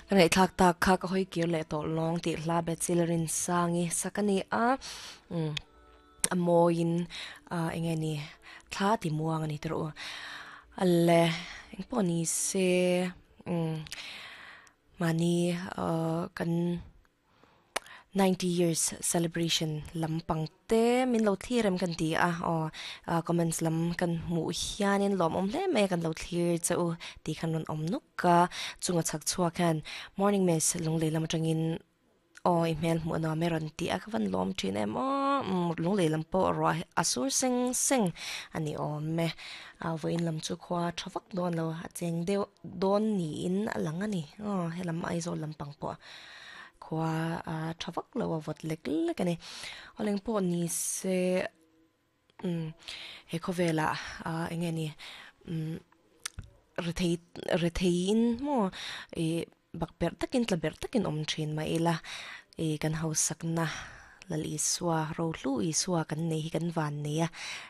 Ka ngaihthlak tak kha ka hawi kir leh tawh lawng tih hla Bethsy Lalrinsangi sak a ni a, umm a mawiin ah eng nge ni thla ti muang a ni tawh u. Ale engpawh ni se umm mahni ah kan. 90 years celebration lampang te min lo thlir em kan ti a aw comments lam kan hmuh hianin lawmawm hle mai a kan lo thlir che u tih khan rawn awm nuk a chunga chhak chhuak hian morning miss lunglei lam atangin aw i hmel hmuh a nuam e rawn ti a ka van lawm thin em aw lunglei lam pawh ruah a sur seng seng a ni awm e a vawiin lam chu khua tha vak dawn lo a cheng deuh dawn niin a lang a ni aw helam Aizawl lampang pawh. Khua a tha vak lo a vawt lek lek a ni. Awleng pawh ni se umm he khawvelah ah eng nge ni umm rethei retheiin maw ih bak berh takin tla berh takin awm thin mah ila ih kan hausakna Lal Isua Rohlu Isua kan nei hi kan van nei a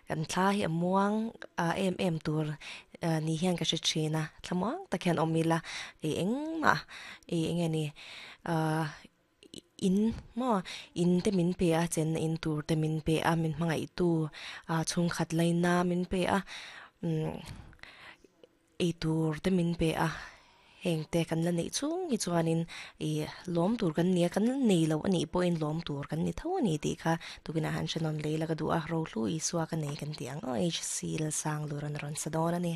kan thla hi a muang ah em em tur ni hian ka hre thin a thlamuang tak hian awm ila ih engmah ih eng nge ni ahh in maw in te min pe a chenna in tur te min pe a min hmangaih tu ah chhungkhat laina min pe a umm eitur te min pe a heng te kan la neih chhung hi chuanin ih lawm tur kan ni a kan la nei lo anih pawhin lawm tur kan ni tho a ni tih kha tukinah han hre nawn lei la ka duh a Rohlu Isua ka nei kan tih ang aw HC Lalsangluran a rawn sa dawn a ni.